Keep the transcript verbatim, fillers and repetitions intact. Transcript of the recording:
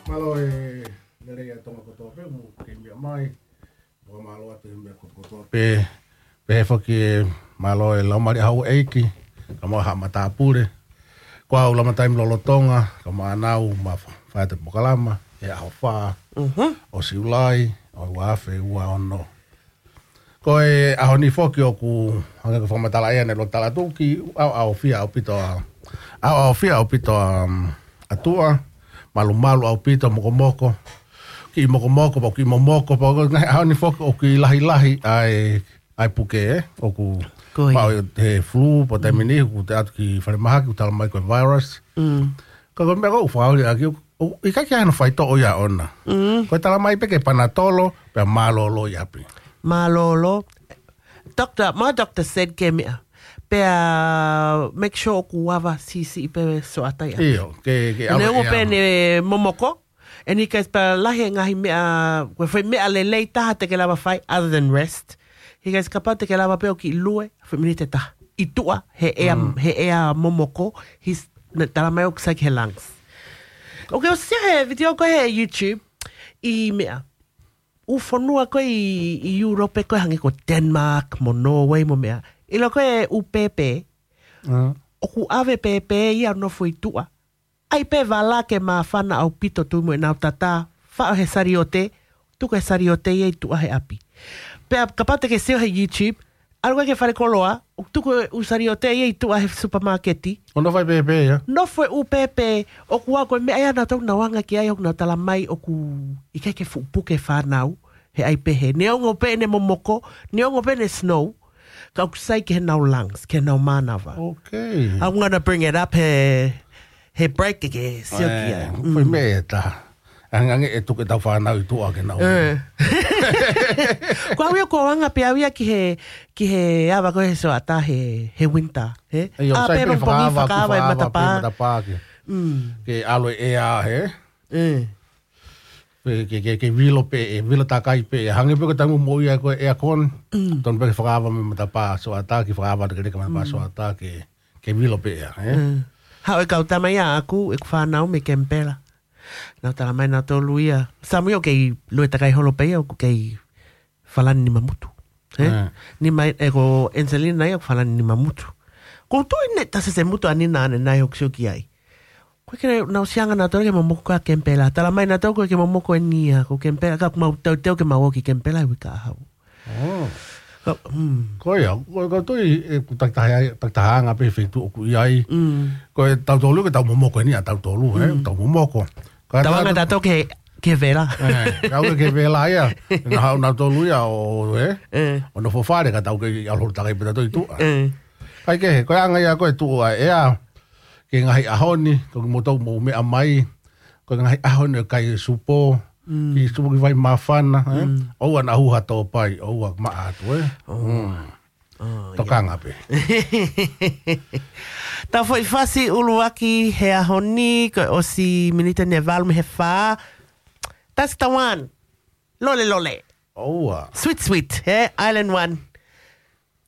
Mālō e lelei ʻa Tonga kotoa pē, mou kei meʻa mai. Fakamālō atu he meʻa kotoa pē. Pehē foki e mālō e laumālie ʻa houʻeiki, kae ʻumaʻā haʻa matāpule. Ko au Lama Taimi Lolotonga, kae ʻumaʻā ʻanau, ʻoku ma fai atu e polokalama he ʻaho fā Mhm. ʻo Siulai, ʻo e ua afe ua ono. Ko e ʻaho ni foki ʻoku hangē ko e fakamatala ʻeni ʻa e lotu talatuki, ʻaoʻaofia ʻaupito ʻa, ʻaoʻaofia ʻaupito ʻa, um, ʻa tuʻa, malumalu ʻaupito, mokomoko, kiʻi mokomoko, pea kiʻi momoko, pea ko e ngaahi ʻaho ni foki ʻoku kiʻi lahilahi ʻa e, ʻa e puke, ē, ʻoku Ko ia. maʻu he flu, pea taimi ni, ʻoku te ʻalu ki falemahaki, ʻoku talamai ko e virus. Mm. Ka ko e meʻa ʻoku ou fakaoli ʻaki, ʻoku, ʻoku ʻikai ke ʻi ai hano faitoʻo ia ʻona. Mm. Ko e talamai pē ke panatolo, pea mālōlō ʻi ʻapi. Mālōlō. Doctor, my doctor said ke meʻa. Pea make sure ʻoku ava siʻisiʻi pē ʻa e sioʻata ʻi ʻapi. ʻIo, ke, ke ʻAlu ʻe ʻalu. pē ʻene momoko. And he goes, pea lahi e ngaahi meʻa, ko e foʻi meʻa lelei taha te ke lava fai, other than rest. He goes, kapau te ke lava pē ʻo kiʻi lue, foʻi miniti ʻe taha. ʻI tuʻa, he ʻea, Mm. he ʻea momoko, his, na, talamai ʻoku sai ki he lungs. ʻOku ke ʻosi he video ko ē he YouTube, ʻi meʻa. ʻŪ fonua ko ē ʻi, ʻi Europe ko ē hangē ko Denmark, mo Norway, mo meʻa. ʻIlo ko ē ʻū pēpē, Mm. ʻoku ʻave pēpē ia ʻo nofo ʻi tuʻa. ʻAi pē vala ke māfana ʻaupito tuʻu mo ʻenau tatā, faʻo he saliote, tuku e saliote ia ʻi tuʻa he ʻapi. Pea kapau te ke sio he YouTube, ʻalu ko ē ki he falekoloa, ʻoku tuku e ʻū saliote ia ʻi tuʻa he supermarket. ʻO nofo ai pēpē ia. Nofo e ʻū pēpē, ʻoku ʻa ko e meʻa ia naʻa tau nau anga ki ai, ʻoku nau talamai ʻoku ʻikai ke fuʻu puke fānau, he ʻai pehē. Neongo pē ʻene momoko, neongo pē ʻene snow, ka ʻoku sai ki heʻenau lungs, ki heʻenau mānava. Okay. I'm gonna bring it up he, he break ke ke sio ki ai. ʻĒ, Mm. foʻi meʻa ʻe taha. Angange ʻe tuku ʻetau fānau ʻi tuʻa ke nau. ʻĒ. Ko au ia ʻoku ou anga pē au ia ki he, ki he ava ko ē he sioʻata he, he winter, he? ʻIo, ʻĀ sai pē pē mo pongi fakaava, fakaava e fakaava, matapā. pē matapā ke. Mm. Ke ʻalu e ʻea, he? ʻĒ. Pe ke, ke, ke vilo pē, ʻe vilo takai pē, ʻe hangē pē ko e taimi ʻoku moʻui ai ko e aircon, Mm. tonu pē ke fakaava mei matapā sioʻata, ke fakaava atu ke leka matapā Mm. sioʻata, ke, ke vilo pē ʻea, ē? Mm. Haʻu e kau tama ia ʻaʻaku, ʻeku fānau mei Kemipela. Nau talamai nautolu ia. Samuel kei lue takai holo pē ia, ʻoku kei falani nima mutu. Ē? ʻĒ. Nima, ʻe ko Angelina ia ʻoku falani nima mutu. Ko u tui ne tase se mutu ʻanenai ʻanenai ʻoku sio ki ai. Ko e ke nau sianga nautolu ke momoko ko ē Kemipela. Talamai nautolu ko e ke momoko eni ia, ko Kemipela, ka ʻoku mau teuteu ke mau ō ki Kemipela he uike kahaʻu. Oh. Ka, hmm. Ko ia, ko, ko tui, ʻeku takitaha, takitaha anga pē feituʻu ʻoku ʻi ai. Mm. Ko e tautolu ke tau momoko eni ia tautolu, ē, Mm. tau momoko. Ka Tau anga tautolu tautolu ke, ke vela. ʻĒ, kau ke, ke vela ia. Naʻa haʻu nautolu ia ʻo, ē, ʻĒ. ʻo nofo fale ka tau kei ʻalu holo takai pē tautolu ʻi tuʻa. ʻĒ. Kae kehe, ko e anga ia ko e tuʻu ʻa e ʻea, ki he ngaahi ʻaho ni, ko kimoutolu mou meʻa mai, ko e ngaahi ʻaho ni ʻo e kai supo, Mm. ki supo ki vai māfana, ē? Mm. ʻOua naʻa hū ha tōpai, ʻoua maʻa atu, ē? Oh. Mm. Oh, Tokanga pē. Tau foʻi fasi ʻuluaki he ʻaho ni, ko e ʻosi miniti ʻe valu mei he fā. That's the one. Lole, lole. ʻOua. Sweet, sweet, ē? Island one.